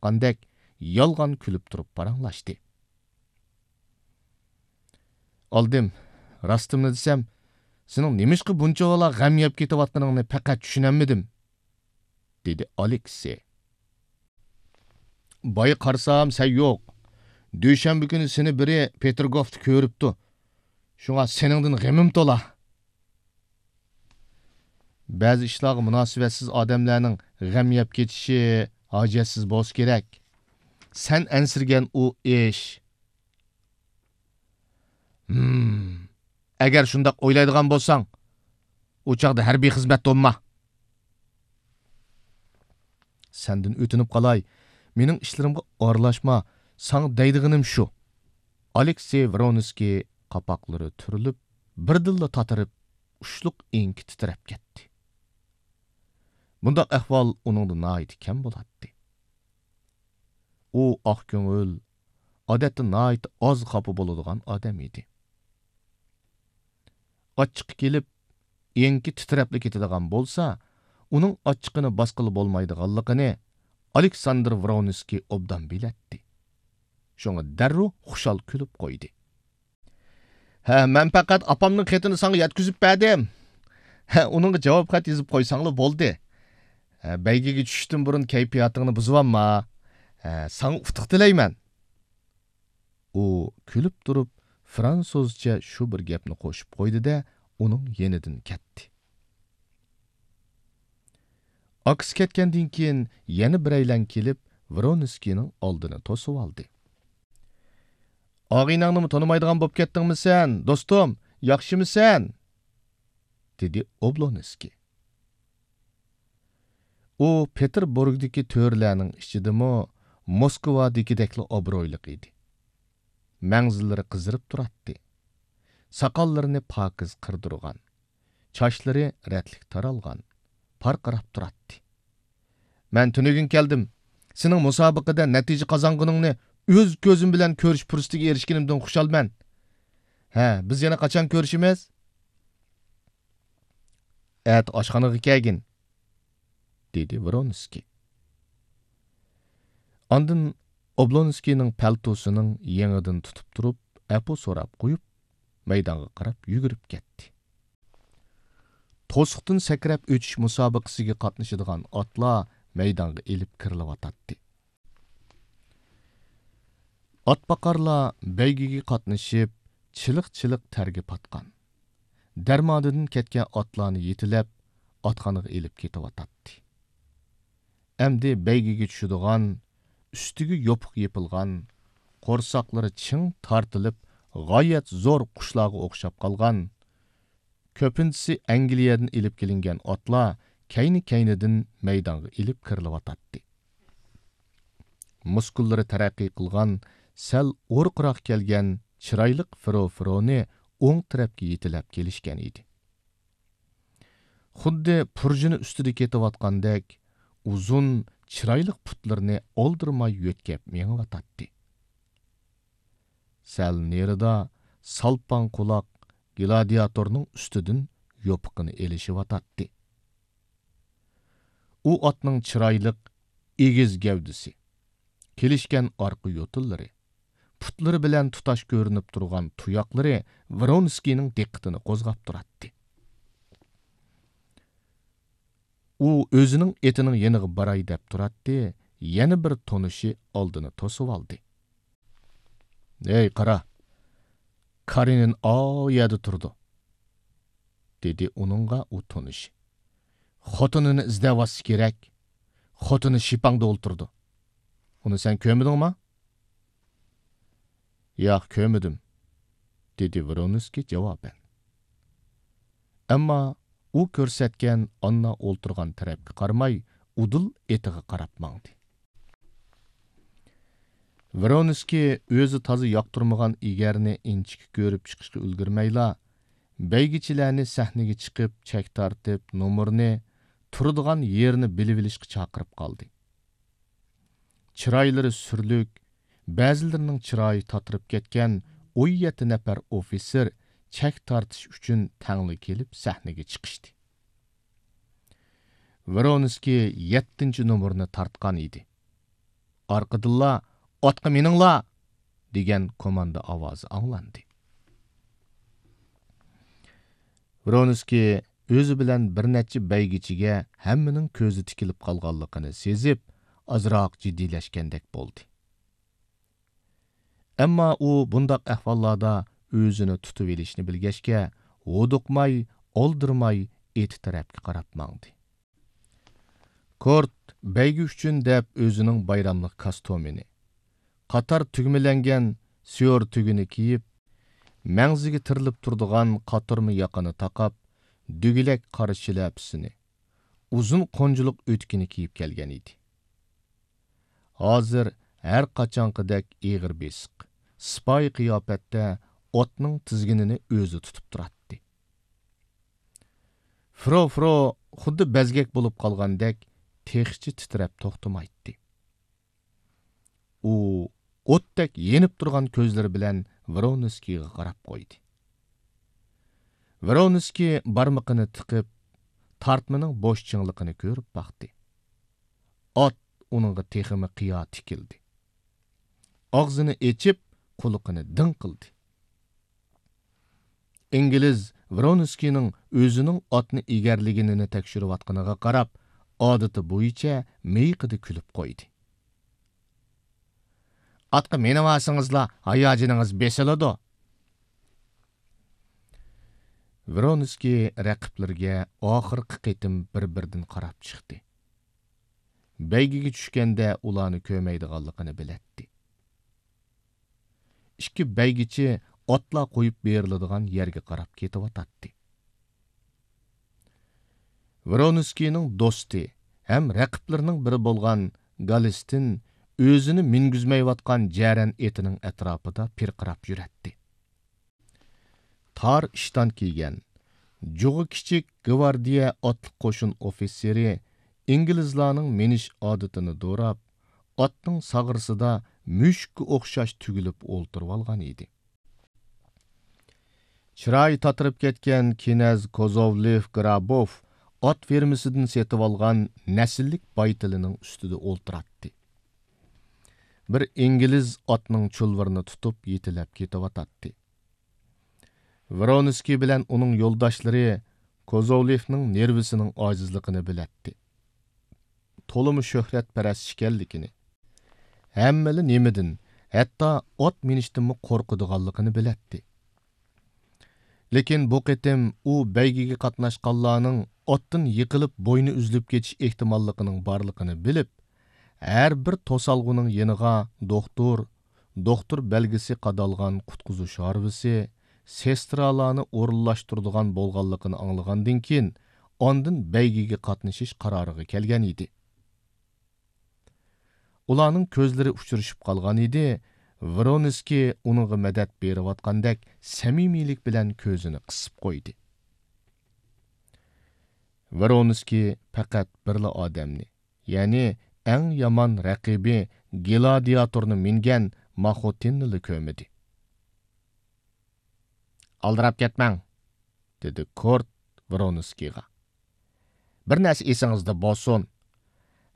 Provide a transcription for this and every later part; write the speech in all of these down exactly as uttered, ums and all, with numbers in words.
باققاندەك يالغان كۈلۈپ تۇرۇپ پاراڭلاشتى. ئالدىم، راستىمنى دېسەم، سېنىڭ نېمىشقا بۇنچىۋالا غەم يەپ كېتىۋاتقىنىڭنى پەقەت چۈشىنەلمىدىم، دېدى ئالېكسېي. بايا قارىسام، سەن يوق. دۈشەنبە كۈنى سېنى بىرى پېتىرگوفتا كۆرۈپتۇ. شۇڭا سېنىڭدىن غېمىم تولا. بەزى ئىشلارغا مۇناسىۋەتسىز ئادەملەرنىڭ غەم يەپ كېتىشى ھاجەتسىز بولسا كېرەك. سەن ئەنسىرىگەن ئۇ ئىش. ھىم، ئەگەر شۇنداق ئويلايدىغان بولساڭ، ئۇ چاغدا ھەربىي خىزمەتتە بولما. سەندىن ئۆتۈنۈپ قالاي، مېنىڭ ئىشلىرىمغا ئارىلاشما، ساڭا دەيدىغىنىم شۇ. ئالېكسېي ۋرونسكىي قاپاقلىرى تۈرۈلۈپ، بىردىنلا تاتىرىپ، ئۇچلۇق ئېڭىكى تىترەپ كەتتى. بۇنداق ئەھۋال ئۇنىڭدا ناھايىتى كەم بولاتتى. ئۇ ئاق كۆڭۈل، ئادەتتە ناھايىتى ئاز خاپا بولىدىغان ئادەم ئىدى. ئاچچىقى كېلىپ، ئېڭىكى تىترەپلا كېتىدىغان بولسا، ئۇنىڭ ئاچچىقىنى باسقىلى بولمايدىغانلىقىنى ئالېكساندىر ۋرونسكىي ئوبدان بىلەتتى. شۇڭا دەررۇ خۇشال كۈلۈپ قويدى. ھە، مەن پەقەت ئاپامنىڭ خېتىنى ساڭا يەتكۈزۈپ بەردىم. ھە، ئۇنىڭغا جاۋاب خەت يېزىپ قويساڭلا بولدى. ھە، بەيگىگە چۈشۈشتىن بۇرۇن كەيپىياتىڭنى بۇزۇۋالما. ھە، ساڭا ئۇتۇق تىلەيمەن. ئۇ كۈلۈپ تۇرۇپ، فرانسۇزچە شۇ بىر گەپنى قوشۇپ قويدى-دە، ئۇنىڭ يېنىدىن كەتتى. ئاكىسى كەتكەندىن كېيىن يەنە بىرەيلەن كېلىپ، ۋرونسكىينىڭ ئالدىنى توسۇۋالدى. «ئاغىنەڭنىمۇ تونۇمايدىغان بولۇپ كەتتىڭمۇ سەن، دوستۇم؟ ياخشىمۇسەن؟» دېدى ئوبلونسكىي. ئۇ پېتېربۇرگدىكى تۆرىلەرنىڭ ئىچىدىمۇ موسكۋادىكىدەكلا ئابرۇيلۇق ئىدى. مەڭزىلىرى قىزىرىپ تۇراتتى. ساقاللىرىنى پاكىز قىردۇرغان. چاچلىرى رەتلىك تارالغان. پارقىراپ تۇراتتى. «مەن تۈنۈگۈن كەلدىم. سېنىڭ مۇسابىقىدە نەتىجە قازانغىنىڭنى ئۆز كۆزۈم بىلەن كۆرۈش پۇرسىتىگە ئېرىشكىنىمدىن خۇشالمەن. ھە، بىز يەنە قاچان كۆرۈشىمىز؟» «ئەتە ئاشخانىغا كەلگىن.» دېدى ۋرونسكىي. ئاندىن ئوبلونسكىينىڭ پەلتوسىنىڭ يېڭىدىن تۇتۇپ تۇرۇپ، ئەپۇ سوراپ قويۇپ، مەيدانغا قاراپ يۈگۈرۈپ كەتتى. توسۇقتىن سەكرەپ ئۆتۈش مۇسابىقىسىگە قاتنىشىدىغان ئاتلار مەيدانغا ئېلىپ كىرىلىۋاتاتتى. ئاتباقارلار بەيگىگە قاتنىشىپ، چىلىق-چىلىق تەرگە پاتقان، دەرماندىن كەتكەن ئاتلارنى يېتىلەپ، ئاتخانىغا ئېلىپ كېتىۋاتاتتى. ئەمدى بەيگىگە چۈشىدىغان، ئۈستىگە يوپۇق يېپىلغان، قورساقلىرى چىڭ تارتىلىپ، غايەت زور قۇشلارغا ئوخشاپ قالغان، كۆپىنچىسى ئەنگلىيەدىن ئېلىپ كېلىنگەن ئاتلار كەينى-كەينىدىن مەيدانغا ئېلىپ كىرىلىۋاتاتتى. مۇسكۇللىرى تەرەققىي قىلغان، سەل ئورۇقراق كەلگەن چىرايلىق فىرو-فىرونى ئوڭ تەرەپكە يېتىلەپ كېلىشكەن ئىدى. خۇددى پۇرژىنى ئۈستىدە كېتىۋاتقاندەك ئۇزۇن، چىرايلىق پۇتلىرىنى ئالدىرىماي يۆتكەپ مېڭىۋاتاتتى. سەل نېرىدا سالپاڭ قۇلاق گلادىياتورنىڭ ئۈستىدىن يوپۇقىنى ئېلىشىۋاتاتتى. ئۇ ئاتنىڭ چىرايلىق ئېگىز گەۋدىسى، كېلىشكەن ئارقا يوتىلىرى، پۇتلىرى بىلەن تۇتاش كۆرۈنۈپ تۇرغان تۇياقلىرى ۋرونسكىينىڭ دىققىتىنى قوزغاپ تۇراتتى. ئۇ ئۆزىنىڭ ئېتىنىڭ يېنىغا باراي دەپ تۇراتتى، يەنە بىر تونۇشى ئالدىنى توسۇۋالدى. «ھەي، قارا! كارېنىن ئاۋۇ يەردە تۇرىدۇ»، دېدى ئۇنىڭغا ئۇ تونۇشى. «خوتۇنىنى ئىزدەۋاتسا كېرەك. خوتۇنى شىپاڭدا ئولتۇرىدۇ. ئۇنى سەن كۆرمىدىڭما؟» «ياق، كۆرمىدىم»، دېدى ۋرونسكىي جاۋابەن. ئەمما ئۇ كۆرسەتكەن ئاننا ئولتۇرغان تەرەپكە قارىماي، ئۇدۇل ئېتىغا قاراپ ماڭدى. ۋرونسكىي ئۆزى تازا ياقتۇرمىغان ئېگەرنى ئىنچىكە كۆرۈپ چىقىشقا ئۈلگۈرمەيلا، بەيگىچىلەرنى سەھنىگە چىقىپ، چەك تارتىپ، نومۇرنى، تۇرىدىغان يېرىنى بىلىۋېلىشقا چاقىرىپ قالدى. چىرايلىرى سۈرلۈك، بەزىلىرىنىڭ چىرايى تاتىرىپ كەتكەن ئون يەتتە نەپەر ئوفىتسېر چەك تارتىش ئۈچۈن تەڭلا كېلىپ سەھنىگە چىقىشتى. ۋرونسكىي يەتتىنچى نومۇرنى تارتقان ئىدى. ئارقىدىنلا «ئاتقا مىنىڭلار!» دېگەن كوماندا ئاۋازى ئاڭلاندى. ۋرونسكىي ئۆزى بىلەن بىر نەچچە بەيگىچىگە ھەممىنىڭ كۆزى تىكىلىپ قالغانلىقىنى سېزىپ، ئازراق جىددىيلەشكەندەك بولدى. ئەمما ئۇ بۇنداق ئەھۋاللاردا ئۆزىنى تۇتۇۋېلىشنى بىلگەچكە، ھودۇقماي، ئالدىرىماي ئېتى تەرەپكە قاراپ ماڭدى. كورت بەيگە ئۈچۈن دەپ ئۆزىنىڭ بايراملىق كاستيۇمىنى، قاتار تۈگمىلەنگەن سيور تۈگىنى كىيىپ، مەڭزىگە تىرىلىپ تۇرىدىغان قاتۇرما ياقىنى تاقاپ، دۈگىلەك قارا شىلەپىسىنى، ئۇزۇن قونجىلىق ئۆتۈكىنى كىيىپ كەلگەن ئىدى. ھازىر ھەر قاچانقىدەك ئېغىر بېسىق، سىپايى قىياپەتتە ئاتنىڭ تىزگىنىنى ئۆزى تۇتۇپ تۇراتتى. فرو، فرو خۇددى بەزگەك بولۇپ قالغاندەك تېخىچە تىترەپ توختىمايتتى. ئۇ ئوتتەك يېنىپ تۇرغان كۆزلىرى بىلەن ۋرونسكىيغا قاراپ قويدى. ۋرونسكىي بارمىقىنى تىقىپ، تارتمىنىڭ بوش چىڭلىقىنى كۆرۈپ باقتى. ئات ئۇنىڭغا تېخىمۇ قىيا تىكىلدى. ئاغزىنى ئېچىپ، قۇلىقىنى دىڭ قىلدى. ئىنگلىز ۋرونسكىينىڭ ئۆزىنىڭ ئاتنى ئېگەرلىگىنىنى تەكشۈرۈۋاتقىنىغا قاراپ، ئادىتى بويىچە مىيىقىدا كۈلۈپ قويدى. «ئاتقا مىنىۋالسىڭىزلا، ھاياجىنىڭىز بېسىلىدۇ.» ۋرونسكىي رەقىبلىرىگە ئاخىرقى قېتىم بىر-بىردىن قاراپ چىقتى. بەيگىگە چۈشكەندە ئۇلارنى كۆرمەيدىغانلىقىنى بىلەتتى. ئىككى بەيگىچى ئاتلار قويۇپ بېرىلىدىغان يەرگە قاراپ كېتىۋاتاتتى. ۋرونسكىينىڭ دوستى ھەم رەقىبلىرىنىڭ بىرى بولغان گالىستىن ئۆزىنى مىنگۈزمەيۋاتقان جەرەن ئېتىنىڭ ئەتراپىدا پىرقىراپ يۈرەتتى. تار ئىشتان كىيگەن، جۇغى كىچىك گۋاردىيە ئاتلىق قوشۇن ئوفىتسېرى ئىنگلىزلارنىڭ مىنىش ئادىتىنى دوراپ، ئاتنىڭ ساغرىسىدا مۈشۈككە ئوخشاش تۈگۈلۈپ ئولتۇرۇۋالغان ئىدى. چىرايى تاتىرىپ كەتكەن كىنەز كوزوۋلېف گرابوف ئات فېرمىسىدىن سېتىۋالغان نەسىللىك بايتىلىنىڭ ئۈستىدە ئولتۇراتتى. بىر ئىنگلىز ئاتنىڭ چۇلۋۇرىنى تۇتۇپ يېتىلەپ كېتىۋاتاتتى. ۋرونسكىي بىلەن ئۇنىڭ يولداشلىرى كوزوۋلېفنىڭ نېرۋىسىنىڭ ئاجىزلىقىنى بىلەتتى. تولىمۇ شۆھرەتپەرەس ئىكەنلىكىنى، ھەممىلا نېمىدىن، ھەتتا ئات مىنىشتىنمۇ قورقىدىغانلىقىنى بىلەتتى. لېكىن بۇ قېتىم ئۇ بەيگىگە قاتناشقانلارنىڭ ئاتتىن يىقىلىپ بوينى ئۈزۈلۈپ كېتىش ئېھتىماللىقىنىڭ بارلىقىنى بىلىپ، ھەر بىر توسالغۇنىڭ يېنىغا دوختۇر، دوختۇر بەلگىسى قادالغان قۇتقۇزۇش ھارۋىسى، سېسترالارنى ئورۇنلاشتۇرىدىغان بولغانلىقىنى ئاڭلىغاندىن كېيىن، ئاندىن بەيگىگە قاتنىشىش قارارىغا كەلگەن ئىدى. ئۇلارنىڭ كۆزلىرى ئۇچرىشىپ قالغان ئىدى، ۋرونسكىي ئۇنىڭغا مەدەت بېرىۋاتقاندەك سەمىمىيلىك بىلەن كۆزىنى قىسىپ قويدى. ۋرونسكىي پەقەت بىرلا ئادەمنى، يەنى ئەڭ يامان رەقىبى گلادىياتورنى مىنگەن ماخوتىننىلا كۆرمىدى. «ئالدىراپ كەتمەڭ!» دېدى كورت ۋرونسكىيغا. «بىر نەرسە ئېسىڭىزدە بولسۇن.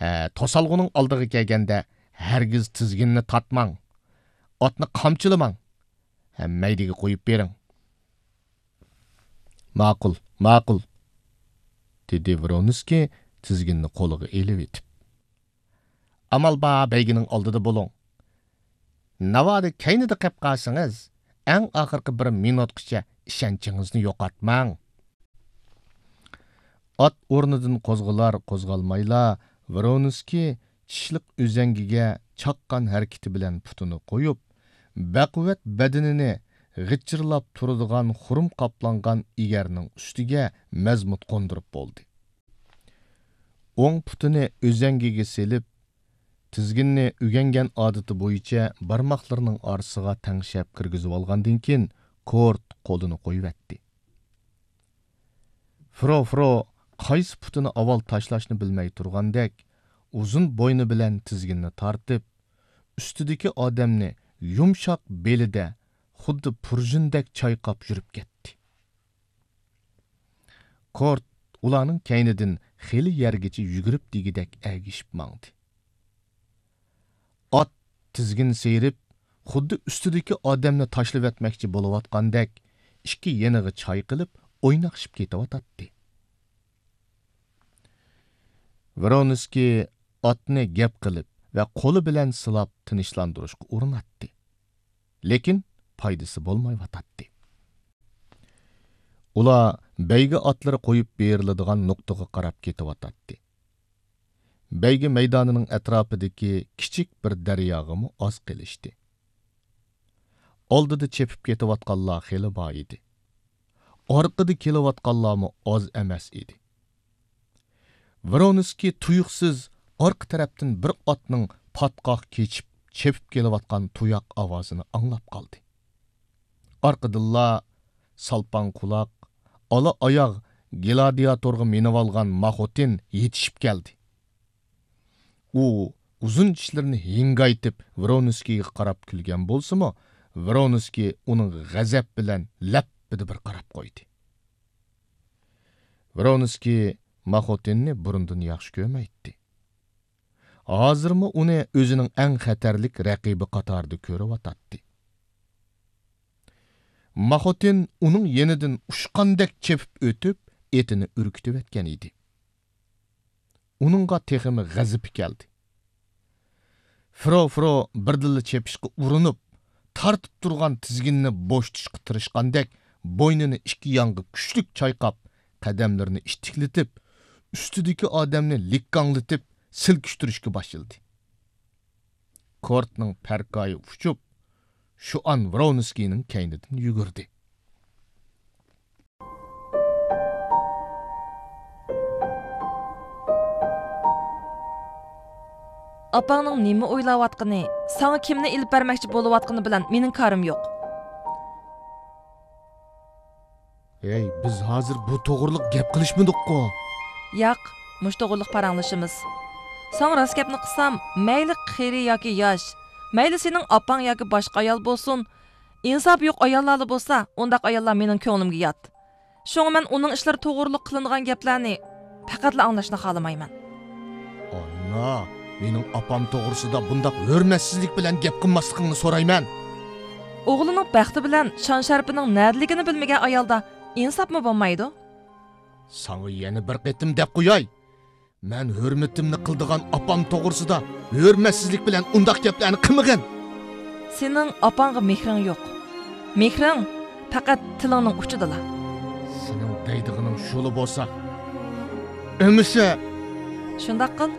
ھە، توسالغۇنىڭ ئالدىغا كەلگەندە ھەرگىز تىزگىننى تارتماڭ. ئاتنى قامچىلىماڭ. ھە، مەيدىگە قويۇپ بېرىڭ.» «ماقۇل، ماقۇل،» دېدى ۋرونسكىي تىزگىننى قولىغا ئېلىۋېتىپ. «ئامال بار بەيگىنىڭ ئالدىدا بولۇڭ. ناۋادا كەينىدە قېپ قالسىڭىز، ئەڭ ئاخىرقى بىر مىنۇتقىچە ئىشەنچىڭىزنى يوقاتماڭ.» ئات ئورنىدىن قوزغىلار قوزغالمايلا، ۋرونسكىي چىشلىق ئۈزەڭگىگە چاققان ھەرىكىتى بىلەن پۇتىنى قويۇپ، بەقۇۋۋەت بەدىنىنى غىچىرلاپ تۇرىدىغان خۇرۇم قاپلانغان ئېگەرنىڭ ئۈستىگە مەزمۇت قوندۇرۇپ بولدى. ئوڭ پۇتىنى ئۈزەڭگىگە سېلىپ، تىزگىننى ئۆگەنگەن ئادىتى بويىچە بارماقلىرىنىڭ ئارىسىغا تەڭشەپ كىرگۈزۈۋالغاندىن كېيىن، كورت قولىنى قويۇۋەتتى. فرو، فرو قايسى پۇتىنى ئاۋۋال تاشلاشنى بىلمەي تۇرغاندەك، ئۇزۇن بوينى بىلەن تىزگىننى تارتىپ، ئۈستىدىكى ئادەمنى يۇمشاق بېلىدە خۇددى پۇرژىندەك چايقاپ يۈرۈپ كەتتى. كورت ئۇلارنىڭ كەينىدىن خېلى يەرگىچە يۈگۈرۈپ دېگۈدەك ئەگىشىپ ماڭدى. تىزگىن سىيرىپ، خۇددى ئۈستىدىكى ئادەمنى تاشلىۋەتمەكچى بولۇۋاتقاندەك، ئىككى يېنىغا چايقىلىپ، ئويناقشىپ كېتىۋاتاتتى. ۋرونسكىي ئاتنى گەپ قىلىپ ۋە قولى بىلەن سىلاپ تىنچلاندۇرۇشقا ئۇرۇناتتى. لېكىن پايدىسى بولمايۋاتاتتى. ئۇلار بەيگە ئاتلىرى قويۇپ بېرىلىدىغان نۇقتىغا قاراپ كېتىۋاتاتتى. بەيگە مەيدانىنىڭ ئەتراپىدىكى كىچىك بىر دەرياغىمۇ ئاز قېلىشتى. ئالدىدا چېپىپ كېتىۋاتقانلار خېلى بار ئىدى. ئارقىدا كېلىۋاتقانلارمۇ ئاز ئەمەس ئىدى. ۋرونسكىي تۇيۇقسىز ئارقا تەرەپتىن بىر ئاتنىڭ پاتقاق كېچىپ، چېپىپ كېلىۋاتقان تۇياق ئاۋازىنى ئاڭلاپ قالدى. ئارقىدىنلا سالپاڭ قۇلاق، ئالا ئاياغ گلادىياتورغا مىنىۋالغان ماخوتىن يېتىشىپ كەلدى. ئۇ ئۇزۇن چىشلىرىنى ھىڭگايتىپ ۋرونسكىيغا قاراپ كۈلگەن بولسىمۇ، ۋرونسكىي ئۇنىڭغا غەزەپ بىلەن لەپپىدە بىر قاراپ قويدى. ۋرونسكىي ماخوتىننى بۇرۇندىن ياخشى كۆرمەيتتى. ھازىرمۇ ئۇنى ئۆزىنىڭ ئەڭ خەتەرلىك رەقىبى قاتارىدا كۆرۈۋاتاتتى. ماخوتىن ئۇنىڭ يېنىدىن ئۇچقاندەك چېپىپ ئۆتۈپ، ئېتىنى ئۈركۈتۈۋەتكەن ئىدى. ئۇنىڭغا تېخىمۇ غەزىپى كەلدى. فرو، فرو بىردىنلا چېپىشقا ئۇرۇنۇپ، تارتىپ تۇرغان تىزگىننى بوشىتىشقا تىرىشقاندەك، بوينىنى ئىككى يانغا كۈچلۈك چايقاپ، قەدەملىرىنى ئىتتىكلىتىپ، ئۈستىدىكى ئادەمنى لىككاڭلىتىپ سىلكىشتۈرۈشكە باشلىدى. كورتنىڭ پەرقايى ئۇچۇپ، شۇئان ۋرونسكىينىڭ كەينىدىن يۈگۈردى. ئاپاڭنىڭ نېمە ئويلاۋاتقىنى، ساڭا كىمنى ئېلىپ بەرمەكچى بولۇۋاتقىنى بىلەن مېنىڭ كارىم يوق. ھەي، بىز ھازىر بۇ توغرىلىق گەپ قىلىشمىدۇققۇ؟ ياق، مۇشۇ توغرىلىق پاراڭلىشىمىز. ساڭا راست گەپنى قىلسام، مەيلى قېرى ياكى ياش، مەيلى سېنىڭ ئاپاڭ ياكى باشقا ئايال بولسۇن، ئىنسابى يوق ئاياللارلا بولسا، ئۇنداق ئاياللار مېنىڭ كۆڭلۈمگە يات. شۇڭا مەن ئۇنىڭ ئىشلىرى توغرۇلۇق قىلىنغان گەپلەرنى پەقەتلا ئاڭلاشنى خالىمايمەن. ئانا، مېنىڭ ئاپام توغرىسىدا بۇنداق ھۆرمەتسىزلىك بىلەن گەپ قىلماسلىقىڭنى سورايمەن. ئوغلىنىڭ بەختى بىلەن شان-شەرىپىنىڭ نەدىلىكىنى بىلمىگەن ئايالدا ئىنساپمۇ بولمايدۇ. ساڭا يەنە بىر قېتىم دەپ قوياي. مەن ھۆرمىتىمنى قىلىدىغان ئاپام توغرىسىدا ھۆرمەتسىزلىك بىلەن ئۇنداق گەپلەرنى قىلمىغىن. سېنىڭ ئاپاڭغا مېھرىڭ يوق. مېھرىڭ پەقەت تىلىڭنىڭ ئۇچىدىلا. سېنىڭ دەيدىغىنىڭ شۇلا بولسا، ئەمىسە. شۇنداق قىل،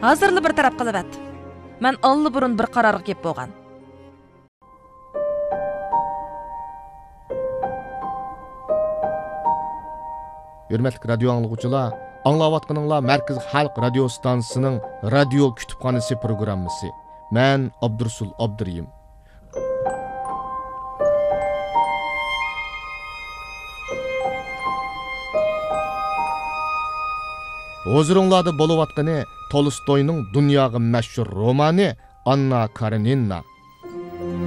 ھازىرلا بىر تەرەپ قىلىۋەت. مەن ئاللىبۇرۇن بىر قارارغا كېلىپ بولغان. ھۆرمەتلىك رادىيو ئاڭلىغۇچىلار، ئاڭلاۋاتقىنىڭلار مەركىزىي خەلق رادىيو ستانسىسىنىڭ رادىيو كۇتۇپخانىسى پروگراممىسى. مەن ئابدۇرۇسۇل ئابدۇرېھىم. ھۇزۇرۇڭلاردا بولۇۋاتقىنى تولستوينىڭ دۇنياغا مەشھۇر رومانى ئاننا كارېنىنا.